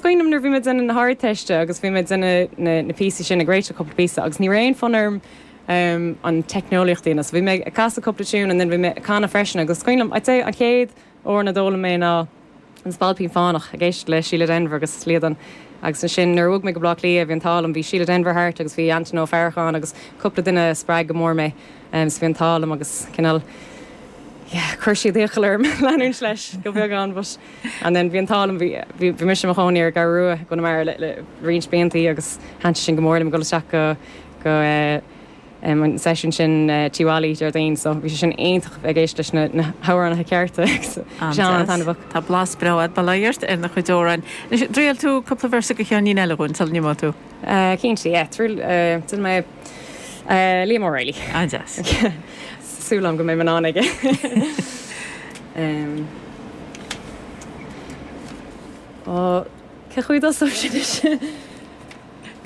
cuimhin liom nuair a bhí mé ag déanamh na hArdteiste agus bhí mé ag déanamh na na píosaí sin ag réiteach cúpla píosa agus ní raibh aon fonn orm an teicneolaíocht a dhéanamh so bhí mé ag casadh cúpla tiún and then bhí mé ag canadh freisin agus is cuimhin liom I'd say an chéad amhrán a d'fhoghlaim mé ná An Spailpín Fánach, ag éisteacht le Síle Denvir agus Líadan. Agus ansin nuair a bhog mé go Baile Átha Cliath bhí an t-ádh liom, bhí Síle Denvir thart agus bhí Antaine Ó Faracháin agus cúpla duine a spreag go mór mé. So bhí an t-ádh liom agus cineál, yeah, chuir siad iachall orm leanúint leis go beagán but and then bhí an t-ádh liom, bhí, bhí, bhí mise i mo chónaí ar an gCeathrú Rua i gConamara le, le roinnt bliantaí agus thaitin sin go mór liom ag dul isteach go, go eh, an seisiún sin Tí Mholly Déardaoin so bhí sé sin iontach ag éisteacht leis na hamhránaithe cearta agus bhí sé an-taitneamhach. Tá blas breá agat, bail ó Dhia ort ar do chuid amhráin. Anois, an dtriailfidh tú cúpla véarsa de cheainnín eile dhúinn sula n-imeoidh tú? Cinnte, yeah. Triail, déanfaidh mé Liam O'Reilly. An-deas. Súil agam go mbeidh mé in ann aige. Ó, cén chaoi a dtosóidh sé anois?